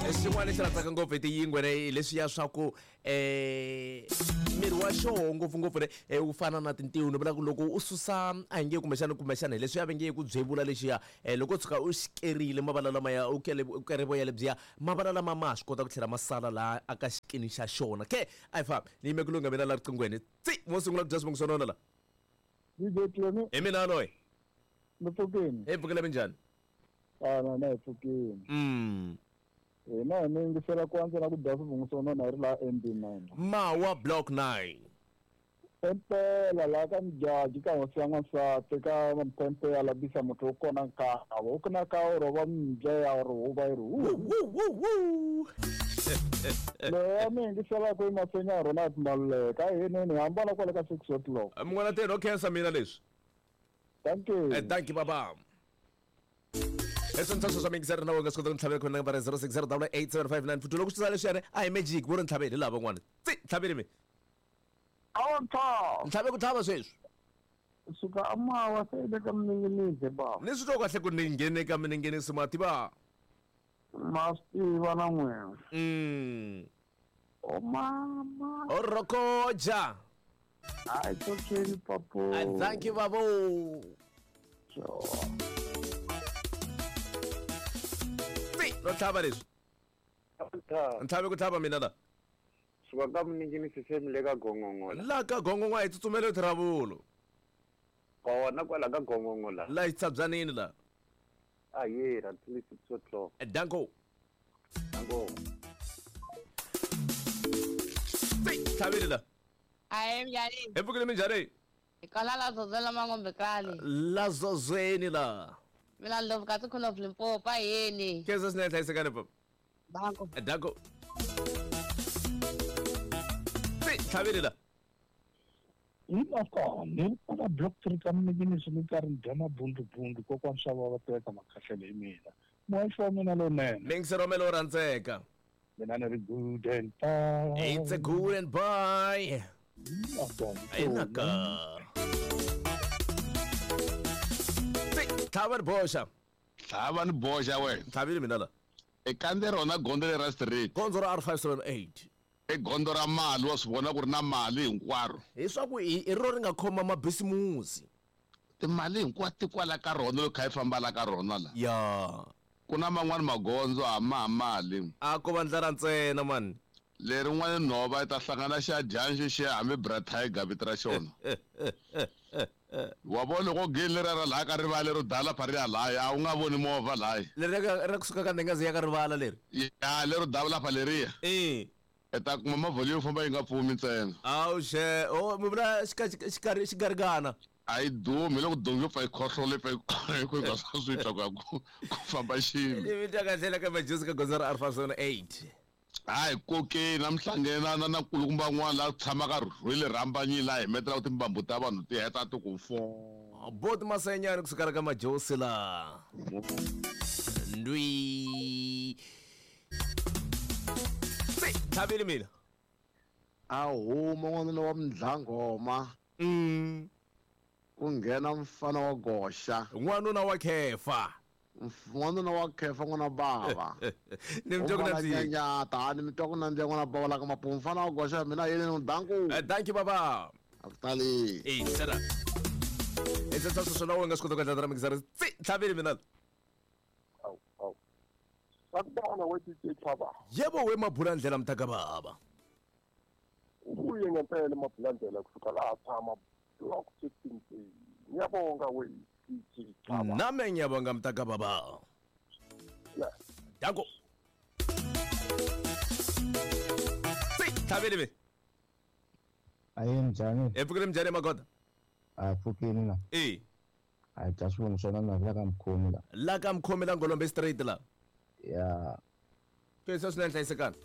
Xin'wana lexi rhandzaka ngopfu hi tiyingwe ne hi leswiya swa ku um miri wa xoho ngopfungopfu ne wu fana na tintiho. Ni vula ku loko u susa a hi nge kumbexana hi leswiya va nge ku byevula lexiya, loko u tshuka u xi kerile mavala lamaya, u kele u kere voya lebyiya, mavala lama ma ha swi kota ku tlhela ma sala laha aka xikini xa xona. Ke a hi fambi, ni yime ku lungha mina la riqinghweni. Tsi, mo sungula ku dya swivongo swa nona la. DJ Clemi. Hi mina loyi. Ni pfukini. Hi pfukile, minjhani? A na na hi pfukini. Hina hi mi yingisela ku antswa na ku dya swivungu swa nona hi ri laha MB9. Mawa Block 9. Impela laha ka Mjaji ka hosi ya n'wansati ka Mphempe ya labisa muthu u kona nkava u kuna ka u rhova mbya ya ri huva yi ri hu. Wu wu wu. Loyi a mi yingiselaka i Masenya Ronald Maluleka a hineni hi hambana kwale ka 6 o'clock. Munghana teni o khensa mina leswi. Thank you. Thank you baba. Leswi ntshaso swa mingiseri na wena swi kota ku ntlhavela khona nambara 060 8759 futhi loko swi tsala leswiyani a hi magic vo ri ntlhaveli hi lava van'wana. Tsi ntlhaveli mi. Awa ntlhava. Ntlhave ku tlhava sweswi. Suka amawa se le ka mininginizi ba. Ni swi twa kahle ku ni nghene ka mininginizi ma tiva. Ma swi tiva na n'wina. O mama. O rokoja. Hayi tsotsweni papo. Thank you babo. Sure. Tsi no tlhava leswi. Ntlhave ku tlhava mina la. Suka ka miningini sisemi le ka gongongo la. La ka gongongo a hi tsutsumele thiravulo. Kona kwala ka gongongo la. La xitshabyanini la. A yera till 6 o'clock. Danko. Danko. Tsi tlhavile la. Ahe minjhani? Hi pfukile minjhani? Hi kwala la Zozela Mangombe kani. La Zozweni la. Mina Ndlovu ka Queen of Limpopo aheni. Khensa swinene hlayisekani papa. Danko. Danko. Tsi tlhavile la. Hi ni kwala block 3 ka mininginiso ni karhi ni dya mabundubundu kokwani swa va va teka makhahlele hi mina. Muhaxi wa mina lowunene. Mingisero wa lowo rhandzeka. Mina ni ri good and bye. It's a good and bye. Inaka. Tsi tlhava ni boxa. Tlhava ni boxa wena. Tlhavile mina la. E kandze rona gondzo leri ra straight. Gondzo ra R578. I gondzo ra mali wa swi vona ku ri na mali hinkwaro. Hi swa ku hi ro ri nga khoma mabisimusi. Timali hinkwato ti kwala ka rona loko kha yi famba la ka rona la. Ya. Ku na man'wani magondzo a ma ha mali. A ko va ndlela ntsena mani. Lerin'wani nhova yi ta hlangana xa dyanxi xi hambi Bra Tiger vito ra xona. Wa vona loko geni leriya ra laya ka rivala lero dala pha ri ya laya a wu nga voni movha laya. Leri ra kusuka ka Ndengazi ya ka rivala leri. Ya lero dala pha leriya. E. I ta kuma movha leyo famba yi nga pfumi ntsena. Awu xe, oh mi vula xikarhi xigarigana. A yi dumi hi loko dongi yo pfa yi khohlola yi pfa yi ku nga swi twa ku ya ku famba xilo. Ni mi twa kahle la ka Majozi ka gondzo ra R578. Hayi kokeni namuhlangene na na na nkulukumba n'wana la tshamaka rhwele rhambanyini la himetelaka timbambu ta vanhu ti heta ti ku fo. Boti Masenyani kusuka la ka Majosi la. Ndwi. Tsi, tlhavile mina. A huma n'wanuna wa mdlangoma. Ku nghena mfana wa goxa. N'wanuna wa khefa. N'wanuna wa khefa n'wana bava. Ni mi twa ku nandziha. Nyanyata, ni mi twa ku nandziha n'wana bava la ka mapumu. Mfana wa goxa mina yini ni danku. Thank you baba. A ku tali. Eh, tsena. E tsena sweswo na wena nga swi kota ku endla ra mixer. Tsi, tlhavile mina. Awu, awu. Sakubona we DJ Tlhava. Yebo we Mabulandlela mtaka baba. Ubuye ngempela Mabulandlela kusuka la tshama block 15. Ngiyabonga we DJ Tlhava. Nami ngiyabonga mtaka baba. Yeah. Danko. Tsi, tlhavile me. Ayi njhani? E pfukile njhani magoda? A pfukile la. E. A dya swivongo swa na la ka mkhomi la. La ka mkhomi la Ngolombe straight la. Ya. Khensa swinene hlayisekani.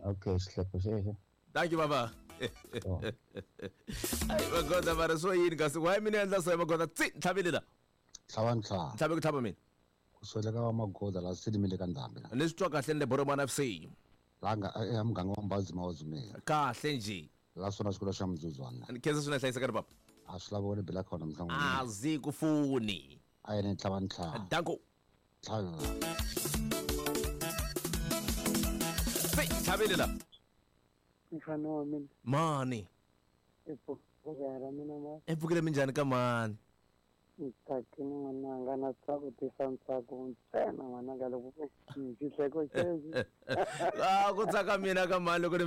Okay, xihleko xexo. Thank you baba. Ai magoda mara swo yini kasi why mina endla so magoda tsi tlhavile la. Tlhava ntlhava. Tlhave ku tlhava mina. Ku sweleka wa magoda la swi limile ka ndhambi la. Ni swi twa kahle ni le Boromana FC. La nga e muganga wa Mbadzi Mawazumela. Kahle nje. La swona xikolo xa Mzuzwana. Ni khensa swinene hlayisekani papa. A swi lavi wena bela khona mhlangu. A zi ku funi. A yena tlhava ntlhava. Danko. Tlhava. Chavile la. Mfana wa mina. Mani. I pfukile ra mina ma. I pfukile minjhani ka mani? Ni tsakile n'wananga na tsako tisa ntsako ntsena n'wananga loko xihleko xexi. Ah, ku tsaka mina ka mani loko ni.